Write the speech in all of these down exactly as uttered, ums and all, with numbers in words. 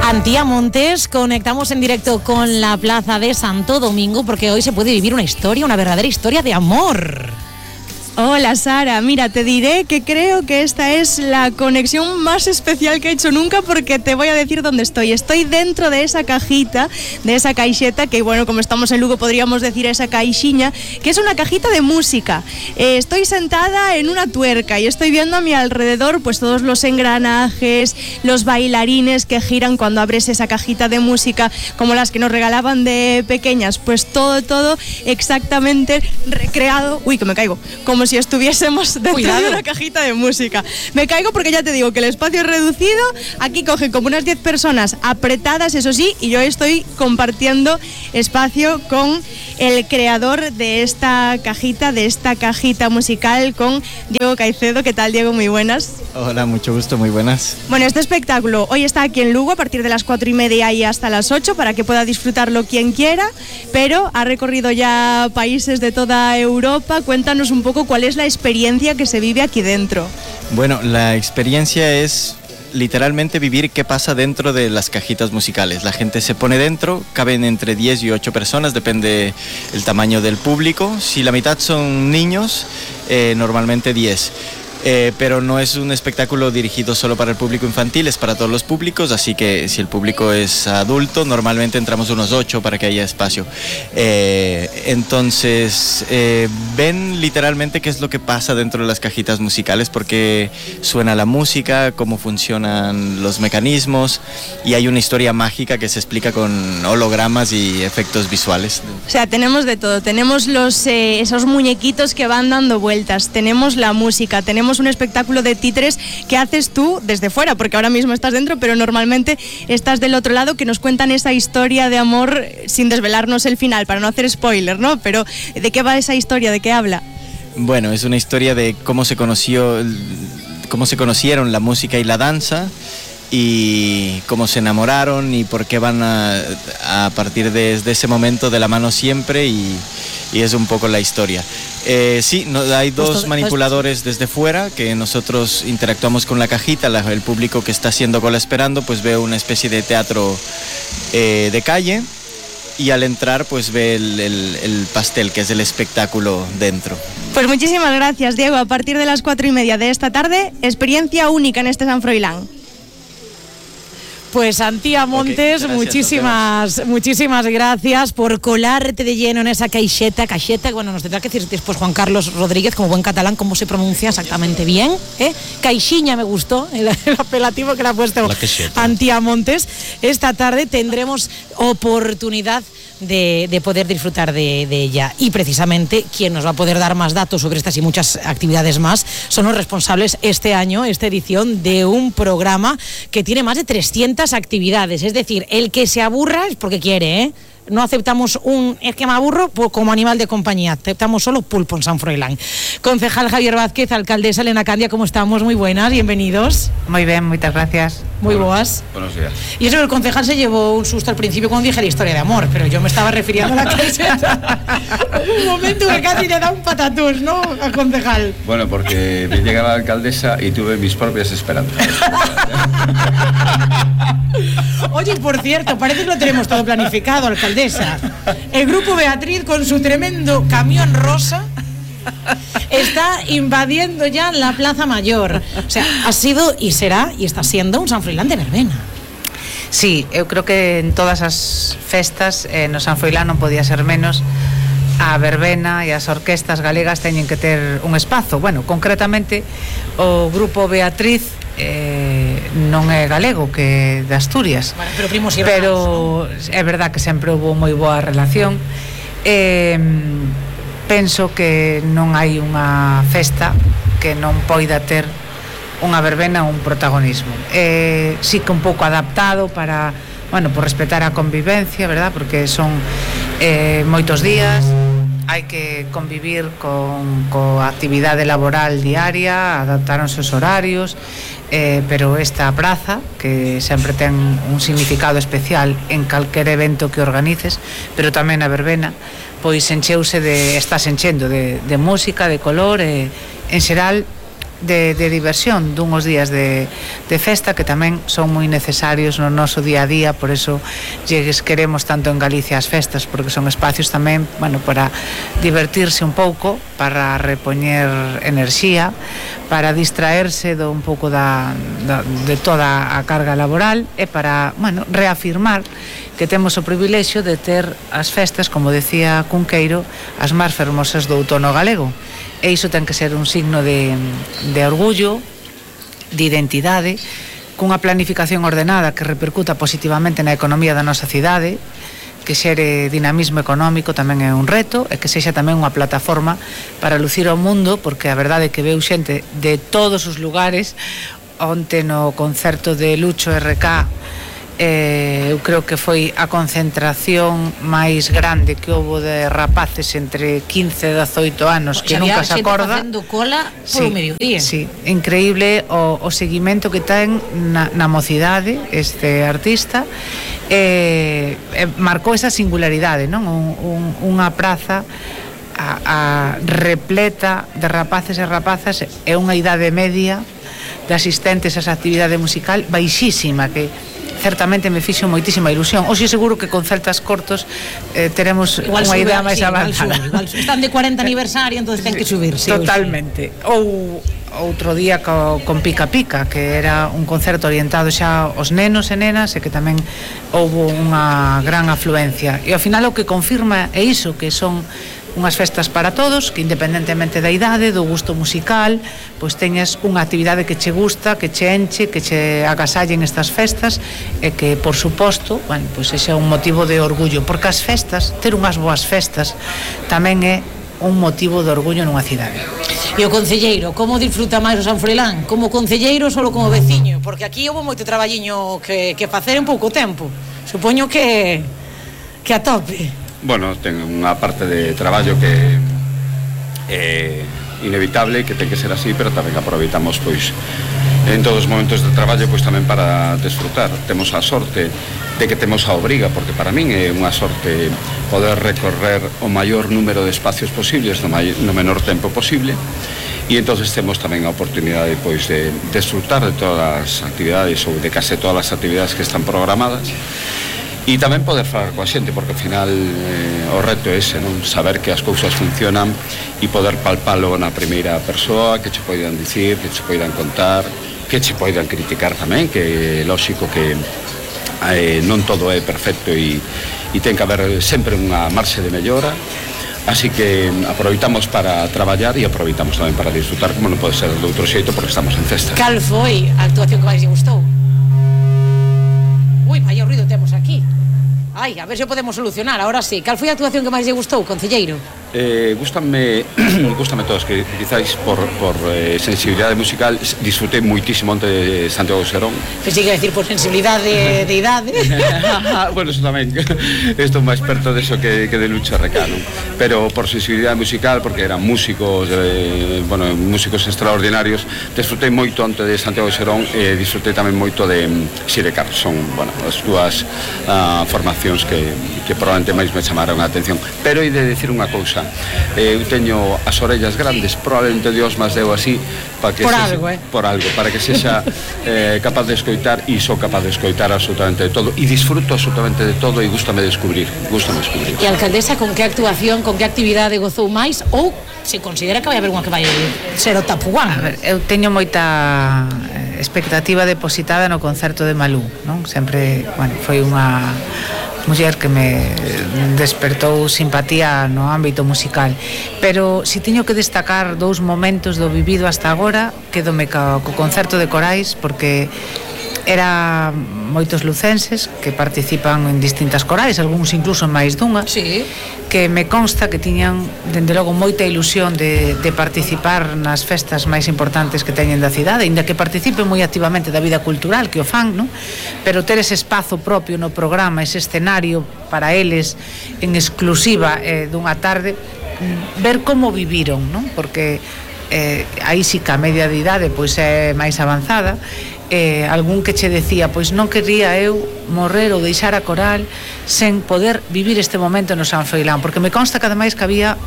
Antía Montes, conectamos en directo con la plaza de Santo Domingo porque hoy se puede vivir una historia, una verdadera historia de amor. Hola Sara, mira, te diré que creo que esta es la conexión más especial que he hecho nunca porque te voy a decir dónde estoy. Estoy dentro de esa cajita, de esa caixeta, que bueno, como estamos en Lugo podríamos decir esa caixiña, que es una cajita de música. Eh, estoy sentada en una tuerca y estoy viendo a mi alrededor pues todos los engranajes, los bailarines que giran cuando abres esa cajita de música, como las que nos regalaban de pequeñas, pues todo, todo exactamente recreado. Uy, que me caigo, como si estuviésemos dentro Cuidado. de una cajita de música. Me caigo porque ya te digo que el espacio es reducido, aquí cogen como unas diez personas apretadas, eso sí, y yo estoy compartiendo espacio con el creador de esta cajita, de esta cajita musical, con Diego Caicedo. ¿Qué tal, Diego? Muy buenas. Hola, mucho gusto, muy buenas. Bueno, este espectáculo hoy está aquí en Lugo a partir de las cuatro y media y hasta las ocho para que pueda disfrutarlo quien quiera, pero ha recorrido ya países de toda Europa. Cuéntanos un poco cuál es la experiencia que se vive aquí dentro. Bueno, la experiencia es literalmente vivir qué pasa dentro de las cajitas musicales. La gente se pone dentro, caben entre diez y ocho personas, depende el tamaño del público. Si la mitad son niños, eh, normalmente diez. Eh, pero no es un espectáculo dirigido solo para el público infantil, es para todos los públicos, así que si el público es adulto, normalmente entramos unos ocho para que haya espacio. Eh, entonces, eh, ven literalmente qué es lo que pasa dentro de las cajitas musicales, porque suena la música, cómo funcionan los mecanismos, y hay una historia mágica que se explica con hologramas y efectos visuales. O sea, tenemos de todo, tenemos los, eh, esos muñequitos que van dando vueltas, tenemos la música, tenemos un espectáculo de títeres que haces tú desde fuera, porque ahora mismo estás dentro, pero normalmente estás del otro lado, que nos cuentan esa historia de amor sin desvelarnos el final, para no hacer spoiler, ¿no? Pero ¿de qué va esa historia? ¿De qué habla? Bueno, es una historia de cómo se conoció, cómo se conocieron la música y la danza, y cómo se enamoraron y por qué van a, a partir de, de ese momento de la mano siempre, y, y es un poco la historia. Eh, sí, no, hay dos pues, manipuladores pues, desde fuera que nosotros interactuamos con la cajita. La, el público que está haciendo cola esperando pues ve una especie de teatro eh, de calle, y al entrar pues ve el, el, el pastel, que es el espectáculo dentro. Pues muchísimas gracias, Diego. A partir de las cuatro y media de esta tarde, experiencia única en este San Froilán. Pues Antía Montes, okay, gracias, muchísimas, muchísimas gracias por colarte de lleno en esa caixeta, caixeta, bueno, nos tendrá que decir después Juan Carlos Rodríguez, como buen catalán, cómo se pronuncia exactamente bien, ¿eh? Caixiña me gustó, el, el apelativo que le ha puesto Antía Montes. Esta tarde tendremos oportunidad de, de poder disfrutar de, de ella, y precisamente quien nos va a poder dar más datos sobre estas y muchas actividades más son los responsables este año, esta edición, de un programa que tiene más de trescientas actividades, es decir, el que se aburra es porque quiere, ¿eh? No aceptamos un es que me aburro como animal de compañía, aceptamos solo pulpo en San Froilán. Concejal Javier Vázquez, alcaldesa Elena Candia, ¿cómo estamos? Muy buenas, bienvenidos. Muy bien, muchas gracias. Muy boas. Buenos días. Y eso, el concejal se llevó un susto al principio cuando dije la historia de amor, pero yo me estaba refiriendo a la caixeta. Un momento que casi le da un patatús, ¿no? Al concejal. Bueno, porque me llega la alcaldesa y tuve mis propias esperanzas. Oye, por cierto, parece que lo tenemos todo planificado, alcaldesa. El grupo Beatriz, con su tremendo camión rosa, está invadiendo ya la Plaza Mayor. O sea, ha sido y será y está siendo un San Froilán de verbena. Sí, eu creo que en todas as festas eh, no San Froilán non podía ser menos. A verbena e as orquestas galegas teñen que ter un espazo. Bueno, concretamente o grupo Beatriz eh, non é galego, que de Asturias. Bueno, pero primos e pero hermanos, ¿no? É verdad que sempre houve moi boa relación. Eh, penso que non hai unha festa que non poida ter unha verbena ou un protagonismo. Eh, sí que un pouco adaptado para, bueno, por respetar a convivencia, verdad? Porque son eh, moitos días, hai que convivir con coa actividade laboral diaria, adaptaronse os horarios, eh, pero esta praza, que sempre ten un significado especial en calquer evento que organices, pero tamén a verbena, pois encheuse de, estás enchendo de, de música, de color, e en xeral de, de diversión, dunhos días de, de festa que tamén son moi necesarios no noso día a día, por eso llegues queremos tanto en Galicia as festas, porque son espacios tamén, bueno, para divertirse un pouco, para repoñer enerxía, para distraerse do un pouco da, da, de toda a carga laboral e para, bueno, reafirmar que temos o privilexio de ter as festas, como decía Cunqueiro, as máis fermosas do outono galego. E iso ten que ser un signo de, de orgullo, de identidade, cunha planificación ordenada que repercuta positivamente na economía da nosa cidade, que xere dinamismo económico tamén é un reto, e que sexa tamén unha plataforma para lucir ao mundo, porque a verdade é que veu xente de todos os lugares. Onte no concerto de Lucho R K, Eh, eu creo que foi a concentración máis grande que houbo de rapaces entre quince e dezoito anos, que nunca se acorda. Facendo cola polo sí, mediodía. Sí, increíble o, o seguimento que ten na, na mocidade este artista. Eh, eh, marcou esa singularidade, non? Un, un, unha praza a, a repleta de rapaces e rapazas e unha idade media de asistentes a esa actividade musical baixísima, que certamente me fixo moitísima ilusión. Hoxe seguro que con celtas cortos eh, teremos unha idea máis sí, avanzada. Igual sube, igual están de cuarenta aniversario, entonces ten que subir. Sí, totalmente. Ou outro día co, con Pica Pica, que era un concerto orientado xa aos nenos e nenas, e que tamén houbo unha gran afluencia. E ao final o que confirma é iso, que son unhas festas para todos, que independentemente da idade, do gusto musical, pois teñas unha actividade que che gusta, que che enche, que che agasallen estas festas, e que, por suposto, bueno, pois ese é un motivo de orgullo, porque as festas, ter unhas boas festas, tamén é un motivo de orgullo nunha cidade. E o concelleiro, como disfruta máis o San Froilán? Como concelleiro ou solo como veciño? Porque aquí houve moito traballiño que, que facer en pouco tempo. Supoño que que a tope. Bueno, ten unha parte de traballo que é inevitable, que ten que ser así, pero tamén aproveitamos pois en todos os momentos de traballo pois tamén para desfrutar. Temos a sorte de que temos a obriga, porque para min é unha sorte poder recorrer o maior número de espacios posibles no, mai, no menor tempo posible, e entonces temos tamén a oportunidade pois de desfrutar de todas as actividades ou de case todas as actividades que están programadas. E tamén poder falar coa xente, porque ao final eh, o reto é ese, non? Saber que as cousas funcionan e poder palpalo na primeira persoa, que che poidan dicir, que che poidan contar, que che poidan criticar tamén, que é lóxico que eh, non todo é perfecto e, e ten que haber sempre unha marxe de mellora. Así que aproveitamos para traballar e aproveitamos tamén para disfrutar, como non pode ser de outro xeito, porque estamos en festa. Cal foi a actuación que máis lle gustou? Ui, vaya ruido temos aquí. Ai, a ver se o podemos solucionar, ahora sí. Cal foi a actuación que máis lle gustou, concelleiro? Eh, gústame, gústame todos, que quizáis por, por eh, sensibilidade musical disfrutei moitísimo onte de Santiago Serón. Pensei que iba a decir por sensibilidade de idade. Bueno, eso tamén. Estou máis perto de eso que, que de Lucho R K, non? Pero por sensibilidade musical, porque eran músicos, eh, bueno, músicos extraordinarios, disfrutei moito onte de Santiago Serón e eh, disfrutei tamén moito de Sidecar. Son, bueno, as dúas uh, formacións que, que probablemente máis me chamaron a atención. Pero hai de decir unha cousa, eu teño as orellas grandes, probablemente Dios máis deu así para que por sexa, algo, eh? por algo, para que sexa eh, capaz de escoitar, e sou capaz de escoitar absolutamente de todo e disfruto absolutamente de todo e gústame descubrir, gústame descubrir. E a alcaldesa, con que actuación, con que actividade gozou máis, ou se considera que vai haber unha que vai ser o tapuán? A ver, eu teño moita expectativa depositada no concerto de Malú, non? Sempre, bueno, foi unha muller que me despertou simpatía no ámbito musical, pero si teño que destacar dous momentos do vivido hasta agora, quedome co, co concerto de corais, porque era moitos lucenses que participan en distintas corais, algúns incluso máis dunha, sí, que me consta que tiñan, dende logo, moita ilusión de, de participar nas festas máis importantes que teñen da cidade, inda que participen moi activamente da vida cultural, que o fan, non? Pero ter ese espazo propio no programa, ese escenario para eles en exclusiva eh, dunha tarde, ver como viviron, non? Porque eh, aí sí que a media de idade pois é máis avanzada, eh, algún que che decía, pois non quería eu morrer ou deixar a coral sen poder vivir este momento no San Froilán, porque me consta que ademais que había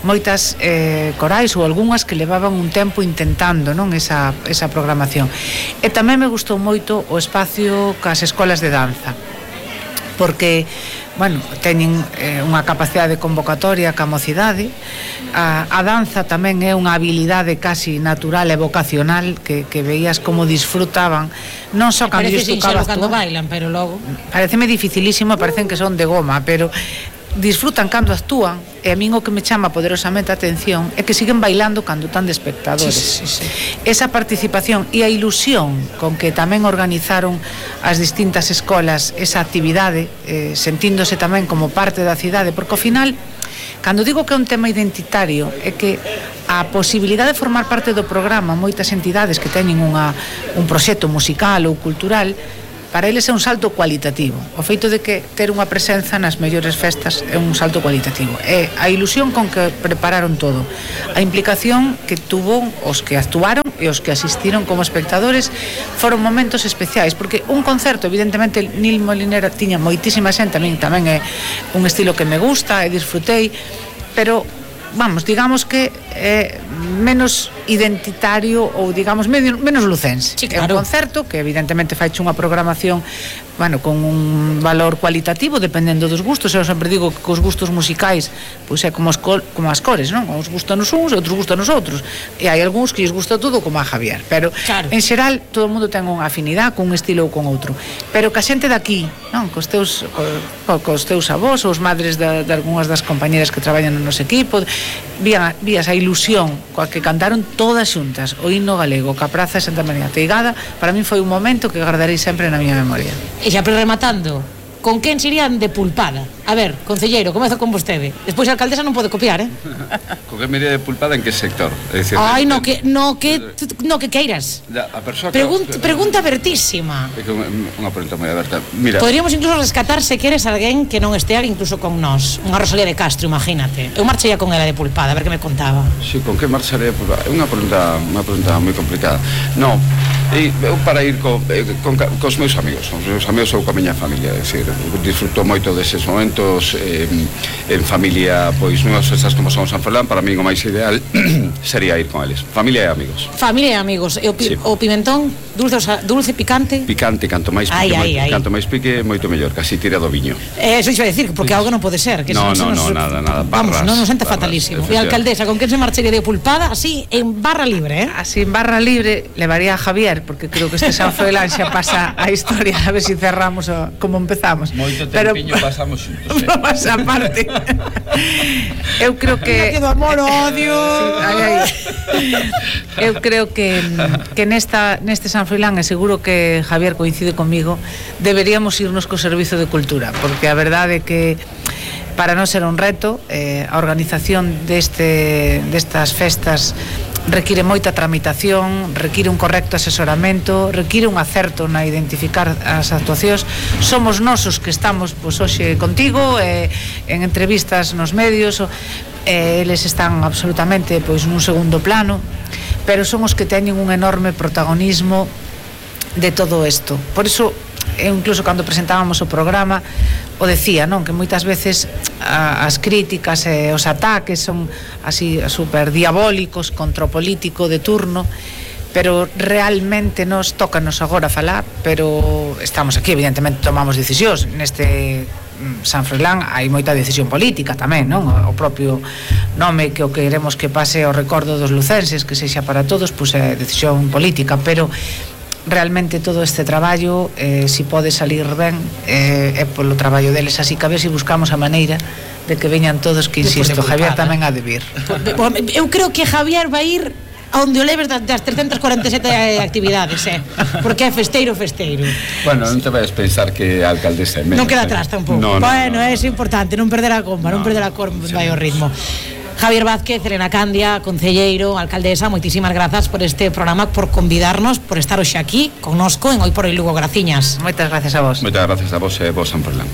moitas eh, corais ou algunhas que levaban un tempo intentando, non, esa, esa programación. E tamén me gustou moito o espacio cas escolas de danza, porque, bueno, teñen eh, unha capacidade de convocatoria ca mocidade. A, a danza tamén é unha habilidade casi natural e vocacional que, que veías como disfrutaban, non só cando parece lles tocaba cando actuar. bailan, pero logo Pareceme dificilísimo, parecen que son de goma, pero disfrutan cando actúan, e a min o que me chama poderosamente a atención é que siguen bailando cando están de espectadores. Sí, sí, sí. Esa participación e a ilusión con que tamén organizaron as distintas escolas esa actividade, eh, sentíndose tamén como parte da cidade, porque ao final, cando digo que é un tema identitario, é que a posibilidade de formar parte do programa, moitas entidades que teñen unha, un proxecto musical ou cultural, para eles é un salto cualitativo. O feito de que ter unha presenza nas mellores festas é un salto cualitativo. É a ilusión con que prepararon todo, a implicación que tuvo os que actuaron e os que asistiron como espectadores. Foron momentos especiais, porque un concerto, evidentemente, Nil Molinera tiña moitísima xente, a min tamén é un estilo que me gusta e disfrutei, pero vamos, digamos que é menos identitario ou digamos medio, menos lucense. Sí, claro. É un concerto que evidentemente faiche unha programación, bueno, con un valor cualitativo dependendo dos gustos. Eu sempre digo que os gustos musicais pois é como as, col, como as cores, non? Uns gustan os uns e outros gustan os outros, e hai algúns que lles gusta todo como a Javier, pero claro, en xeral todo o mundo ten unha afinidade con un estilo ou con outro, pero que a xente daqui, non? Cos teus, co, cos teus avós ou os madres de, de algunhas das compañeras que traballan no noso equipo, vías, vías a ilusión coa que cantaron todas xuntas o himno galego ca Praza de Santa María Teigada. Para min foi un momento que guardarei sempre na miña memoria. E xa rematando, con quen serían de pulpada? A ver, concelleiro, comezo con vostede. Despois a alcaldesa non pode copiar, eh? Con que me iría de pulpada en que sector? É dicir, Ai, de, no que no que no que queiras. Da, a persoa que Pregunta, pregunta abertísima. É que unha pregunta moi aberta. Mira, Poderíamos incluso rescatar se queres alguén que non estea incluso con nós. Unha Rosalía de Castro, imagínate. Eu marcharía con ela de pulpada, a ver que me contaba. Si, con que marcharé? É unha pregunta, unha pregunta moi complicada. Non, e eu para ir co, con, cos meus amigos, os meus amigos ou coa miña familia, é dicir, disfruto moito deses momentos eh, en familia, pois nunhas festas como son San Froilán, para mí o máis ideal sería ir con eles, familia e amigos. Familia e amigos. E o, pi, sí. o pimentón, dulce, dulce, picante? Picante, canto máis pique, ai, ai, ai. canto máis pique, moito mellor, casi tira do viño. Eh, eso iba a decir, porque algo non pode ser, que no, no, no, no, nada, nada, Vamos, barras, non nos senta barras, fatalísimo. E a alcaldesa, con quen se marcharía de pulpada? Así, en barra libre, eh? Así en barra libre levaría a Javier, porque creo que este San Froilán xa pasa a historia, a ver se si cerramos o, como empezamos. Moito Pero tempiño pasamos xuntos, eh? Vamos a parte. Eu creo que do amor, odio. Sí, ai, ai. Eu creo que que nesta neste San Froilán, e seguro que Javier coincide comigo, deberíamos irnos co servizo de cultura, porque a verdade é que para non ser un reto, eh, a organización deste destas festas require moita tramitación, require un correcto asesoramento, require un acerto na identificar as actuacións. Somos nosos que estamos pois, hoxe contigo, eh, en entrevistas nos medios, eh, eles están absolutamente pois, nun segundo plano, pero son os que teñen un enorme protagonismo de todo isto. Por iso, eu incluso cando presentábamos o programa o decía, non, que moitas veces a, as críticas e os ataques son así super diabólicos contra o político de turno, pero realmente nos tócanos agora falar, pero estamos aquí, evidentemente tomamos decisións neste San Froilán, hai moita decisión política tamén, non? O propio nome que o queremos que pase ao recordo dos lucenses, que sexa para todos, pois é decisión política, pero realmente todo este traballo, eh, si pode salir ben, eh, é polo traballo deles, así que a ver se si buscamos a maneira de que veñan todos, que insisto, Javier tamén ha de vir. Eu creo que Javier vai ir onde o leves das trescentas cuarenta e sete actividades, eh? Porque é festeiro, festeiro. Bueno, non te vais pensar que a alcaldesa é menos. Non queda atrás tampouco. No, no, bueno, no, é no, importante, non perder a comba, no, non perder a comba, sí. Vai o ritmo. Javier Vázquez, Elena Candia, concelleiro, alcaldesa, moitísimas grazas por este programa, por convidarnos, por estar hoxe aquí connosco en Hoy por Hoy Lugo. Graciñas. Moitas gracias a vos. Moitas gracias a vos e vos, San Froilán.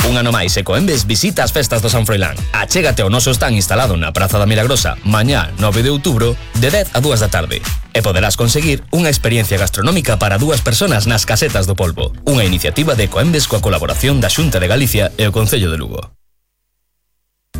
Un ano máis e Coembes visita as festas do San Froilán. Achégate ao noso stand instalado na Praza da Milagrosa mañá nove de outubro de dez a dúas da tarde. E poderás conseguir unha experiencia gastronómica para dúas personas nas Casetas do Polvo. Unha iniciativa de Coembes coa colaboración da Xunta de Galicia e o Concello de Lugo.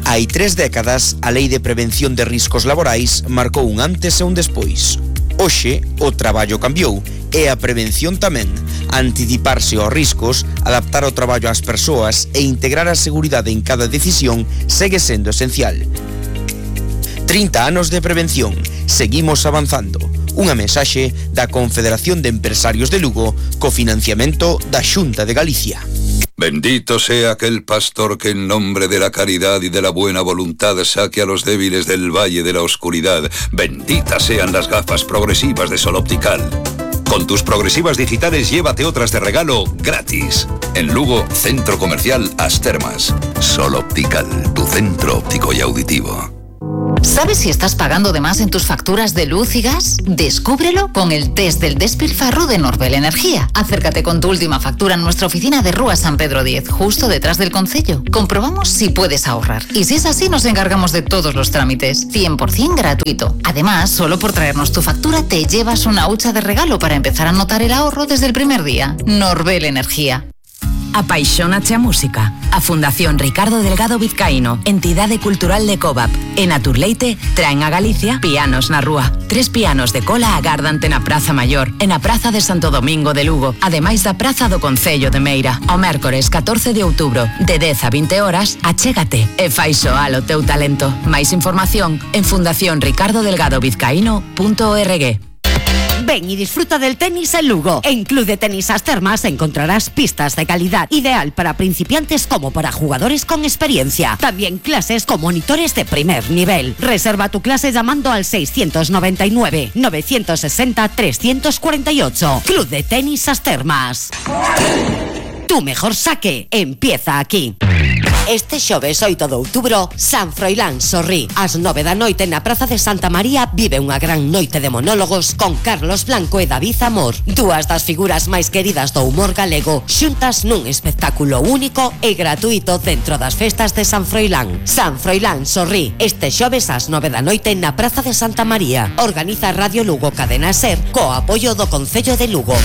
Hai tres décadas, a Lei de Prevención de Riscos Laborais marcou un antes e un despois. Hoxe, o traballo cambiou e a prevención tamén. Anticiparse aos riscos, adaptar o traballo ás persoas e integrar a seguridade en cada decisión segue sendo esencial. trinta anos de prevención. Seguimos avanzando. Unha mensaxe da Confederación de Empresarios de Lugo co financiamento da Xunta de Galicia. Bendito sea aquel pastor que en nombre de la caridad y de la buena voluntad saque a los débiles del valle de la oscuridad. Benditas sean las gafas progresivas de Sol Optical. Con tus progresivas digitales llévate otras de regalo gratis. En Lugo, Centro Comercial As Termas. Sol Optical, tu centro óptico y auditivo. ¿Sabes si estás pagando de más en tus facturas de luz y gas? Descúbrelo con el test del despilfarro de Norbel Energía. Acércate con tu última factura en nuestra oficina de Rúa San Pedro diez, justo detrás del concello. Comprobamos si puedes ahorrar. Y si es así, nos encargamos de todos los trámites. cien por ciento gratuito. Además, solo por traernos tu factura te llevas una hucha de regalo para empezar a notar el ahorro desde el primer día. Norbel Energía. Apaixónate a música. A Fundación Ricardo Delgado Vizcaíno, entidade cultural de Covap, e Naturleite traen a Galicia Pianos na Rúa. Tres pianos de cola agardante na Praza Maior e na Praza de Santo Domingo de Lugo, ademais da Praza do Concello de Meira. O mércores catorce de outubro, de dez a vinte horas, achégate e fai soar o teu talento. Máis información en fundación ricardo delgado vizcaíno punto org. Ven y disfruta del tenis en Lugo. En Club de Tenis As Termas encontrarás pistas de calidad, ideal para principiantes como para jugadores con experiencia. También clases con monitores de primer nivel. Reserva tu clase llamando al seiscientos noventa y nueve, novecientos sesenta, trescientos cuarenta y ocho. Club de Tenis As Termas. Tu mejor saque empieza aquí. Este xoves oito de outubro, San Froilán Sorrí. Ás nove da noite na Praza de Santa María vive unha gran noite de monólogos con Carlos Blanco e David Amor. Dúas das figuras máis queridas do humor galego xuntas nun espectáculo único e gratuito dentro das festas de San Froilán. San Froilán Sorrí, este xoves ás nove da noite na Praza de Santa María. Organiza Radio Lugo Cadena Ser co apoio do Concello de Lugo.